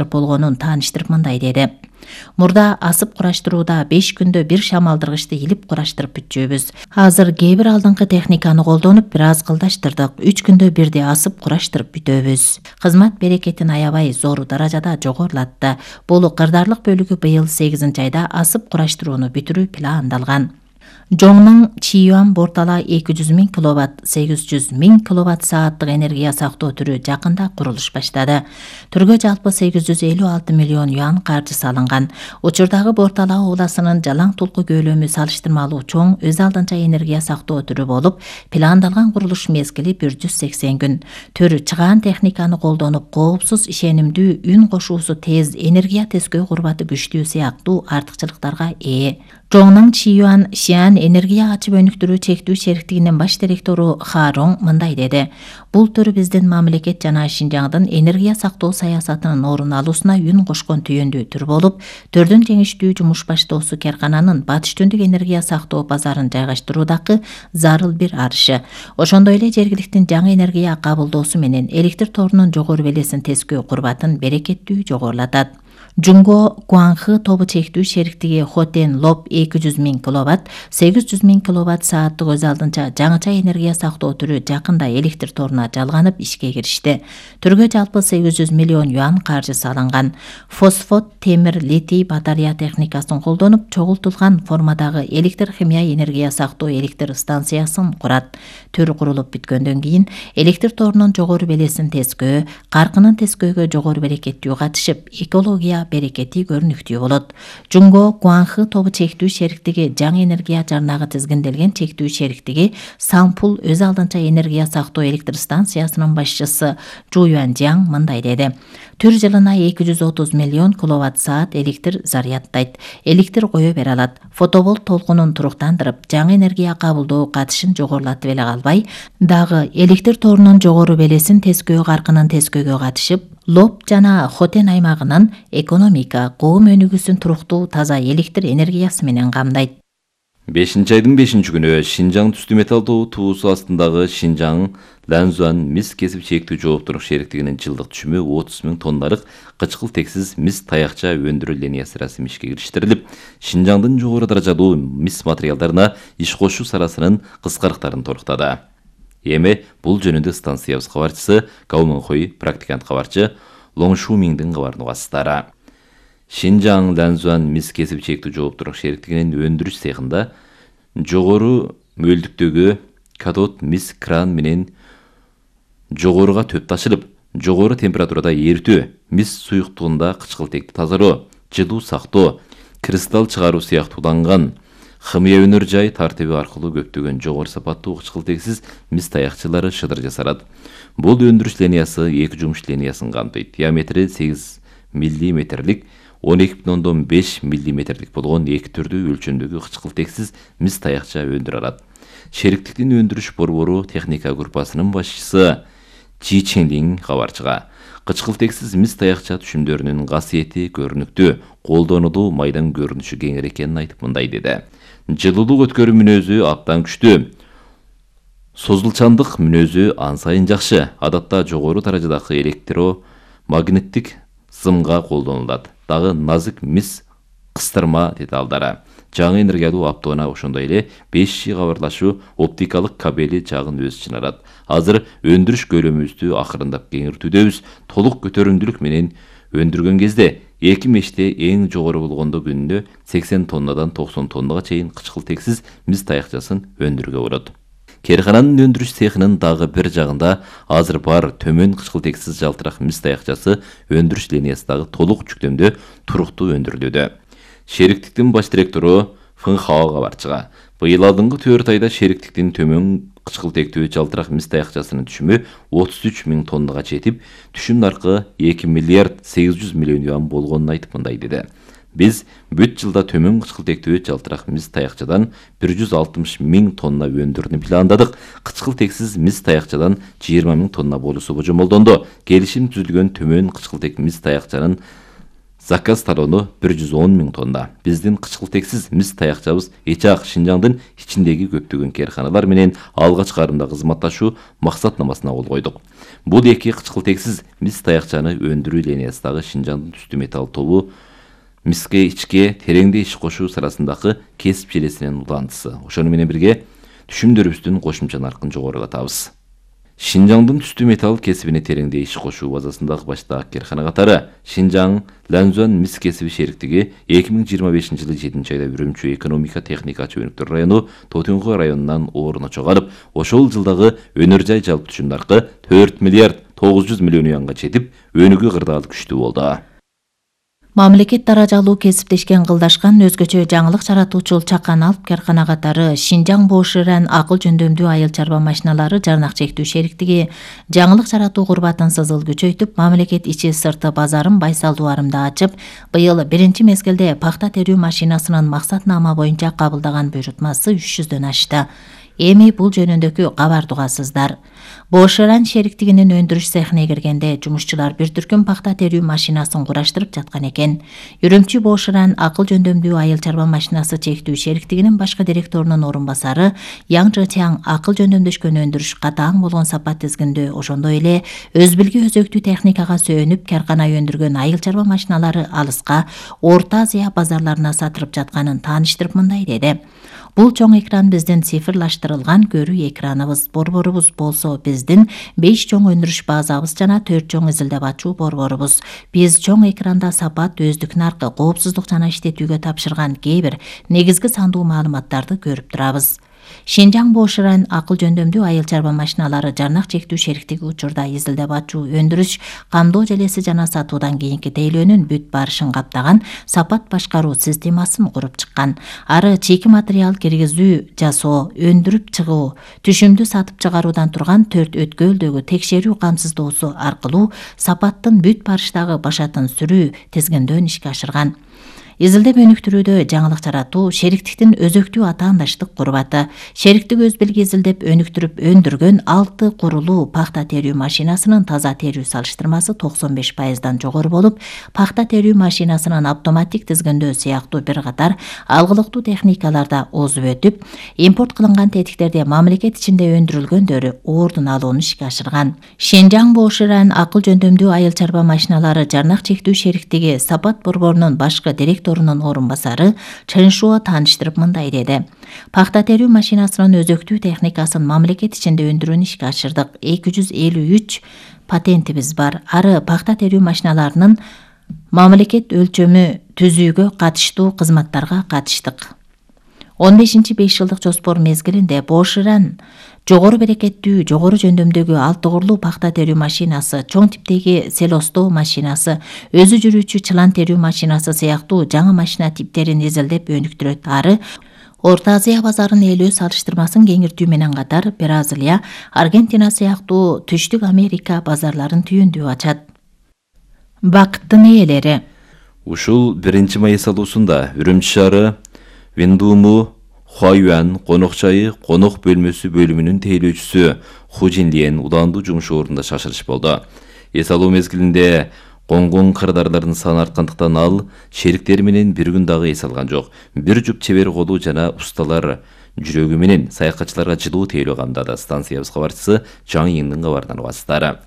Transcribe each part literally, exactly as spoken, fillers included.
болгонун тааныштырып мындай деди. Мурда асып кураштырууда беш күндө бир шамалдыргычты илип кураштырып бүтчүбүз. Азыр кээ бир алдыңкы техниканы колдонуп бир аз кылдаштырдык. үч күндө бирде асып кураштырып бүтөбүз. Кызмат берекетин аябай зор даражада жогорулатты. Бул кырдаарлык бөлүгү быйыл сегизинчи айда асып кураштырууну бүтүрүү пландалган. Жоңнун Чиюан бортала эки жүз миң киловатт, сегиз жүз миң киловатт сааттык энергия сактоо түрү жакында курулуш баштады. Түргө жалпы сегиз жүз элүү алты миллион юан каржы салынган. Учурдагы Бортала ууласынын Жалаң Тулку көлөмү салыштырмалуу чоң өз алдынча энергия сактоо түрү болуп, пландалган курулуш мезгили бир жүз сексен күн. Төр чыгаан техниканы колдонуп, коопсуз, ишенимдүү, үн кошуусу тез, энергия тескөө курбаты күчтүү сыяктуу артыкчылыктарга ээ. Жоңнун Чиюан Шиан энергия ачып өнүктүрүү чектүү шериктигинин баш директору Хароң мындай деди. Бул төр биздин мамлекет жана Шинжаңдын энергия сактоо саясатынын орун алуусуна үн кошкон түйүндүү түр болуп, төрдүн жеңиштүү жумуш баштоосу Керкананын батыш түндүк энергия сактоо базарын жайгаштыруудагы зарыл бир арышы. Ошондой эле жергиликтин жаңы энергия кабылдоосу менен электр торунун жогору белесин тескөө курбатын берекеттүү жогорулатат. Жунго Гуанхы тобу чектүү шериктиги Хотен Лоб эки жүз миң киловатт, сегиз жүз миң киловатт сааттык өз алдынча жаңыча энергия сактоо түрү жакында электр торуна жалганып ишке киришти. Түргө жалпы сегиз жүз миллион юан каржы салынган. Фосфот, темир, литий батарея техникасын колдонуп, чогултулган формадагы электр химия энергия сактоо электр станциясын курат. Төр курулуп бүткөндөн кийин электр торунун жогору белесин тескөө, каркынын тескөөгө жогору берекеттүү катышып, экология берекети көрүнүктүү болот. Жунго Гуанхы тобу чектүү шериктиги жаңы энергия жарнагы тизгинделген чектүү шериктиги Сампул өз алдынча энергия сактоо электр станциясынын башчысы Жу Юанжаң мындай деди. Түр жылына эки жүз отуз миллион киловатт саат электр зарядтайт. Электр кое бере алат. Фотоболт толкунун туруктандырып, жаңы энергия кабылдоо катышын жогорулатып эле калбай, дагы электр торунун жогору белесин тескөө каркынын тескөөгө катышып, Лоб жана Хотен аймагынын экономика, коом өнүгүүсүн туруктуу таза электр энергиясы менен камдайт. бешинчи айдын бешинчи күнү Шинжаң түстүү металлдуу туусу астындагы Шинжаң Ланзуан мис кесип чектүү жооптурук шериктигинин жылдык түшүмү отуз миң тонналык кычкыл тексиз мис таякча өндүрүү линиясы расмий ишке кириштирилип, Шинжаңдын жогору даражалуу мис материалдарына иш кошуу саласынын кыскарыктарын торуктады. Эми бул жөнүндө станциябыз кабарчысы Гауманхой практикант кабарчы Лоңшу Миндин кабарын угасыздар. Шинжаң Ланзуан мис кесип чектүү жооптурук шериктигинин өндүрүш цехинда жогору мөлдүктөгү катод мис кран менен жогоруга төп ташылып, жогору температурада эритүү, мис суюктугунда кычкылтекти тазалоо, жылуу сактоо, кристалл чыгаруу сыяктууланган химия өнөр жай тартиби аркылуу көптөгөн жогору сапаттуу кычкылтексиз мис таякчылары шыдыр жасалат. Бул өндүрүш линиясы эки жумуш линиясын камтыйт. Диаметри сегиз миллиметрлик, он эки бүтүн ондон беш миллиметрлик болгон эки түрдүү өлчөмдөгү кычкылтексиз мис таякча өндүрө алат. Шериктиктин өндүрүш борбору техника группасынын башчысы Чи Ченлин кабарчыга кычкылтексиз мис таякча түшүмдөрүнүн касиети көрүнүктүү, колдонулуу майдан көрүнүшү кеңир экенин айтып мындай деди. Жылуулук өткөрүү мүнөзү абдан күчтүү. Созулчандык мүнөзү ан сайын жакшы. Адатта жогору даражадагы электромагниттик сымга колдонулат. Дагы назик мис кыстырма деталдары. Жаңы энергиялуу автоуна ошондой эле беш жи кабарлашуу оптикалык кабели жагын өз ичине алат. Азыр өндүрүш көлөмүбүздү акырындап кеңиртүүдөбүз. Толук көтөрүмдүүлүк менен өндүргөн кезде эки меште эң жогору болгондо күнүнө сексен тоннадан токсон тоннага чейин кычкылтексиз мис таякчасын өндүрүүгө болот. Керкананын өндүрүш цехинин дагы бир жагында азыр бар төмөн кычкылтексиз жалтырак мис таякчасы өндүрүш линиясындагы толук жүктөмдө туруктуу өндүрүлүүдө. Шериктиктин баш директору Фын Хао кабарчыга быйыл алдыңкы төрт айда шериктиктин төмөн кычкылтектүү жалтырак мис таякчасынын түшүмү отуз үч миң тоннага жетип, түшүм наркы эки миллиард сегиз жүз миллион юан болгонун айтып мындай деди. Биз бүт жылда төмөн кычкылтектүү жалтырак мис таякчадан бир жүз алтымыш миң тонна өндүрүүнү пландадык. Кычкылтексиз мис таякчадан жыйырма миң тонна болуусу божомолдонду. Келишим түзүлгөн төмөн кычкылтек мис таякчанын Заказ талону бир жүз он миң тонна. Биздин кычкылтексиз мис таякчабыз Эчак Шинжаңдын ичиндеги көптөгөн кээрканалар менен алгач карымда кызматташуу максатнамасына кол койдук. Бул эки кычкылтексиз мис таякчаны өндүрүү линиясындагы Шинжаңдын түстүү металл тобу миске ичке тереңде иш кошуу сырасындагы кесип желесинин улантысы. Ошону менен бирге түшүмдөрүбүздүн кошумча наркын жогорулатабыз. Шинжаңдын түстүү металл кесибине тереңде иш кошуу базасындагы баштаак кээркана катары Шинжаң Ланзуан мис кесиби шериктиги эки миң жыйырма бешинчи жылы жетинчи айда Үрүмчү экономика техника чөйрөктөр району Тотуңго районунан орун чыгарып, ошол жылдагы өнөр жай жалпы түшүм наркы төрт миллиард тогуз жүз миллион юанга жетип, өнүгүү кырдаал күчтүү болду. Мамлекет даражалуу кесиптешкен кылдашкан өзгөчө жаңылык жаратуучу чакан алып кааркана катары Шинжаң Боширан акыл жөндөмдүү айыл чарба машиналары жарнак чектүү шериктиги жаңылык жаратуу курбатын сызыл күчөйтүп, мамлекет ичи сырты базарын байсалдуу арымда ачып, быйыл биринчи мезгилде пахта терүү машинасынын максатнама боюнча кабылдаган буйрутмасы үч жүздөн ашты. Эми бул жөнүндөгү кабарды угасыздар. Боширан шериктигинин өндүрүш цехине киргенде жумушчулар бир түркүм пахта терүү машинасын кураштырып жаткан экен. Үрүмчү Боширан акыл жөндөмдүү айыл чарба машинасы чектүү шериктигинин башкы директорунун орун басары Яң Чжэтяң акыл жөндөмдөшкөн өндүрүш катаң болгон сапат тизгиндөө, ошондой эле өз билги өзөктүү техникага сөөнүп кааркана өндүргөн айыл чарба машиналары алыска Орто Азия базарларына сатылып жатканын тааныштырып мындай деди. Бул чоң экран биздин цифрлаштырылган көрүү экраныбыз. Борборубуз болсо биздин беш чоң өндүрүш базабыз жана төрт чоң изилдеп ачуу борборубуз. Биз чоң экранда сапат, өздүк наркы, коопсуздук жана иштетүүгө тапшырган кээ бир негизги сандуу маалыматтарды көрүп турабыз. Шинжаң Боширан акыл жөндөмдүү айыл чарба машиналары жарнак чектүү шериктиги учурда изилдеп ачуу, өндүрүш, камдоо желеси жана сатуудан кийинки тейлөөнүн бүт барышын каптаган сапат башкаруу системасын куруп чыккан. Ары чийки материал киргизүү, жасоо, өндүрүп чыгуу, түшүмдү сатып чыгаруудан турган төрт өткөлдөгү текшерүү камсыздоосу аркылуу сапаттын бүт барыштагы башатын сүрүү тизгиндөн ишке ашырган. Изилдеп өнүктүрүүдө жаңылык жаратуу шериктиктин өзөктүү атаандаштык курбаты. Шериктик өз билги изилдеп өнүктүрүп өндүргөн алты курулуу пахта терүү машинасынын таза терүү салыштырмасы токсон беш пайыздан жогору болуп, пахта терүү машинасынын автоматтик тизгиндөө сыяктуу бир катар алгылыктуу техникаларда озуп өтүп, импорт кылынган тетиктерде мамлекет ичинде өндүрүлгөндөрү ордун алууну ишке ашырган. Шинжаң Боширан акыл жөндөмдүү айыл чарба машиналары жарнак чектүү шериктиги сапат борборунун башкы директорунун орун басары Чен Шуо тааныштырып мындай деди. Пахта терүү машинасынын өзөктүү техникасын мамлекет ичинде өндүрүүнү ишке ашырдык. эки жүз элүү үч патентибиз бар. Ары пахта терүү машиналарынын мамлекет өлчөмү түзүүгө катыштуу кызматтарга катыштык. он бешинчи беш жылдык жоспор мезгилинде Боширан жогору берекеттүү, жогору жөндөмдөгү алты курлуу пахта терүү машинасы, чоң типтеги селостоо машинасы, өзү жүрүүчү чылан терүү машинасы сыяктуу жаңы машина типтерин изилдеп өнүктүрөт. Ары Орто Азия базарын ээлөө салыштырмасын кеңиртүү менен катар Бразилия, Аргентина сыяктуу Түштүк Америка базарларын түйүндүп ачат. Бакыттын ээлери. Ушул биринчи май эсалуусунда Үрүмчү шаары Виндуму Хуаюан конок жайы конок бөлмөсү бөлүмүнүн тейлөөчүсү Ху Жинлиен улаандуу жумуш ордунда шашырыш болду. Эсалуу мезгилинде конгон кардарлардын саны арткандыктан ал шериктери менен бир күн дагы эс алган жок. Бир жуп чебер колу жана усталар жүрөгү менен саякатчыларга жылуу тейлөө камдады. Станциябыз кабарчысы Жаңы Йиңдин кабарынан угасыздар.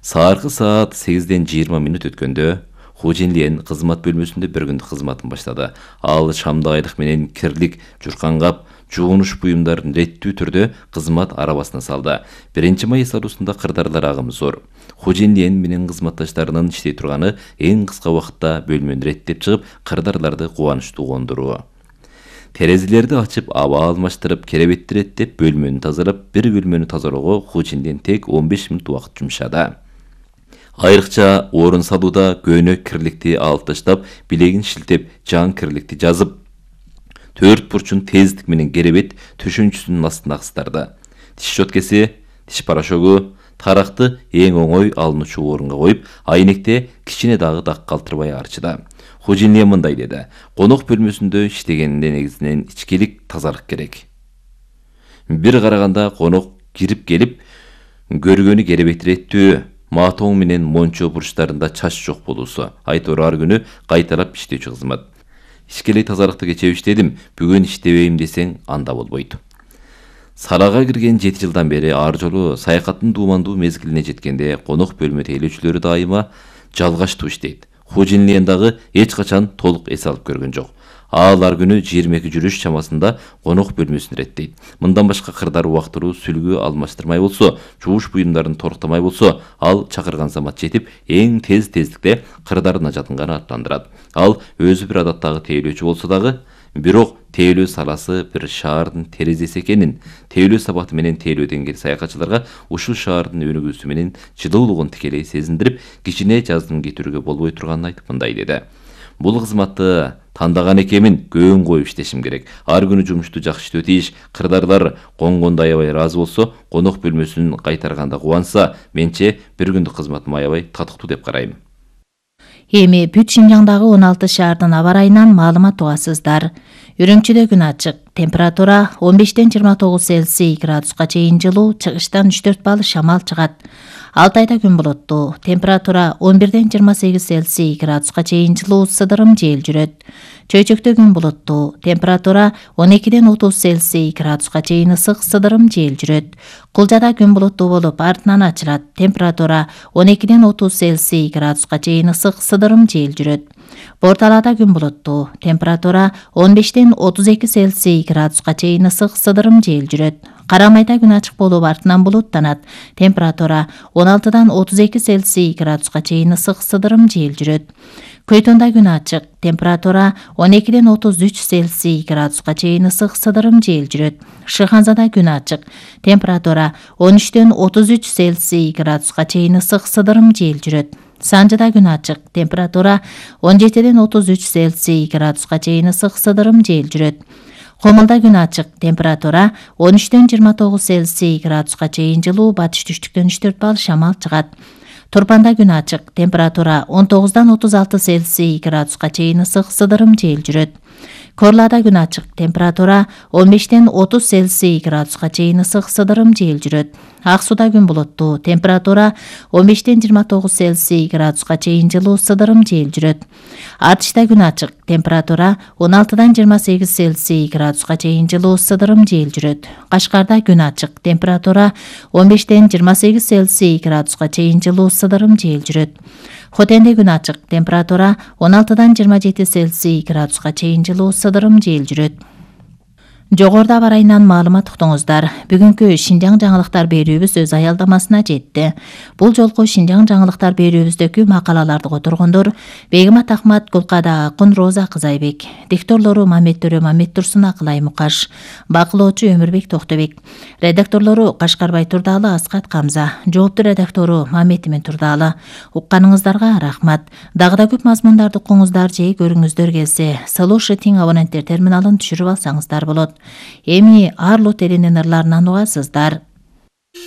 Сааркы саат сегизден жыйырма мүнөт өткөндө Ху Жинлиен кызмат бөлмөсүндө бир күндүк кызматын баштады. Ал шамдык айлык менен кирлик, журкангап, жуунуш буюмдарын реттүү түрдө кызмат арабасына салды. биринчи май эсалуусунда кырдарлар агымы зор. Ху Жинлиен менен кызматташтарынын иштей турганы эң кыска убакытта бөлмөнү реттеп чыгып, кырдарларды кубанычтуу кондуруу. Терезелерди ачып, аба алмаштырып, керебетти реттеп, бөлмөнү тазалап, бир бөлмөнү тазалоого Ху Жинлиен тек он беш мүнөт убакыт жумшады. Айрыкча орун салууда көнөк кирликти алып таштап, билегин шилтеп, жан кирликти жазып, төрт бурчун тездик менен керебет төшөнчүсүнүн астына кыстарды. Тиш щеткеси, тиш порошогу, таракты эң оңой алынуучу орунга коюп, айнекте кичине дагы дак калтырбай арчыды. Ху Жинлиен мындай деди: конок бөлмөсүндө иштегенде негизинен ичкилик, тазалык керек. Бир караганда конок кирип келип, көргөнү керебет реттүү, матоң менен мончо бурчтарында чач жок болуусу. Айтор ар күнү кайталап иштөөчү кызмат. Ишкелей тазалыкты кечээ иштедим, бүгүн иштебейм десең анда болбойт. Салага кирген жети жылдан бери ар жолу саякаттын дуумандуу мезгилине жеткенде конок бөлмө тейлөөчүлөрү дайыма жалгаштуу иштейт. Хожинлиен дагы эч качан толук эс алып көргөн жок. Ал ар күнү жыйырма эки жүрүш чамасында конок бөлмөсүн иреттейт. Мындан башка кырдар убактыруу сүлгү алмаштырмай болсо, жууш буюмдарын торктомай болсо, ал чакырган замат жетип, эң тез тездикте кырдардын ажатынган аттандырат. Ал өзү бир адаттагы тейлөөчү болсо дагы, бирок тейлөө саласы бир шаардын терезеси экенин, тейлөө сабаты менен тейлөөдөн келген саякатчыларга ушул шаардын өнүгүүсү менен жылуулугун тикелей сезиндирип, кичине жаздым кетүүгө болбой турганын айтып мындай деди. Бул кызматты тандаган экенмин, көң коюп иштешим керек. Ар күнү жумушту жакшы иштөө тийиш. Кырдарлар конгондо аябай ыраазы болсо, конок бөлмөсүн кайтарганда кубанса, менче бир күндүк кызматым аябай татыктуу деп карайм. Эми бүт Шинжаңдагы он алты шаардын аба ырайынан маалымат угасыздар. Үрүмчүдө күн ачык. Температура он бештен жыйырма тогуз Цельсий градуска чейин жылуу, чыгыштан үч төрт балл шамал чыгат. Алтайда күн булуттуу. Температура он бирден жыйырма сегиз Цельсий градуска чейин жылуу, сыдырым жел жүрөт. Чөйчөктө күн булуттуу. Температура он экиден отуз Цельсий градуска чейин ысык, сыдырым жел жүрөт. Кулжада күн булуттуу болуп, артынан ачылат. Температура он экиден отуз Цельсий градуска чейин ысык, сыдырым жел жүрөт. Борталада күн булуттуу. Температура он бештен отуз эки Цельсий градуска чейин ысык, сыдырым жел жүрөт. Карамайда күн ачык болуп, артынан булуттанат. Температура он алтыдан отуз эки Цельсий градуска чейин ысык, сыдырым жел жүрөт. Көйтөндө күн ачык. Температура он экиден отуз үч Цельсий градуска чейин ысык, сыдырым жел жүрөт. Шыханзада күн ачык. Температура он үчтөн отуз үч Цельсий градуска чейин ысык, сыдырым жел жүрөт. Санжыда күн ачык. Температура он жетиден отуз үч Цельсий градуска чейин ысык, сыдырым жел жүрөт. Комулда күн ачык. Температура он үчтөн жыйырма тогуз Цельсий градуска чейин жылуу, батыш түштүктөн үч төрт балл шамал чыгат. Турпанда күн ачык. Температура он тогуздан отуз алты Цельсий градуска чейин ысык, сыдырым жел жүрөт. Корлада күн ачык. Температура он бештен отуз Цельсий градуска чейин ысык, сыдырым жел жүрөт. Ак сууда күн булуттуу. Температура он бештен жыйырма тогуз Цельсий градуска чейин жылуу, сыдырым жел жүрөт. Атышта күн ачык. Температура он алтыдан жыйырма сегиз Цельсий градуска чейин жылуу, сыдырым жел жүрөт. Кашкарда күн ачык. Температура он бештен жыйырма сегиз Цельсий градуска чейин жылуу, сыдырым жел жүрөт. Хотенде күн ачык. Температура он алтыдан жыйырма жети Цельсий градуска чейин жылуу, сыдырым жел жүрөт. Жогоруда аба ырайынан маалымат уктуңуздар. Бүгүнкү Шинжаң жаңылыктар берүүбүз өз аялдамасына жетти. Бул жолку Шинжаң жаңылыктар берүүбүздөгү макалаларды которгондор Бегимат Ахмат, Гулкада Акын, Роза Кызайбек. Дикторлору Мамет Төрө, Мамет Турсун, Акылай Мукаш. Бакылоочу Өмүрбек Токтобек. Редакторлору Кашкарбай Турдалы, Аскат Камза. Жооптуу редактору Мамет Имен Турдалы. Укканыңыздарга рахмат. Дагы да көп мазмундарды укуңуздар же көрүңүздөр келсе, Слушатиң абоненттер терминалын түшүрүп алсаңыздар болот. Эми Арлу теринин ырларынан угасыздар.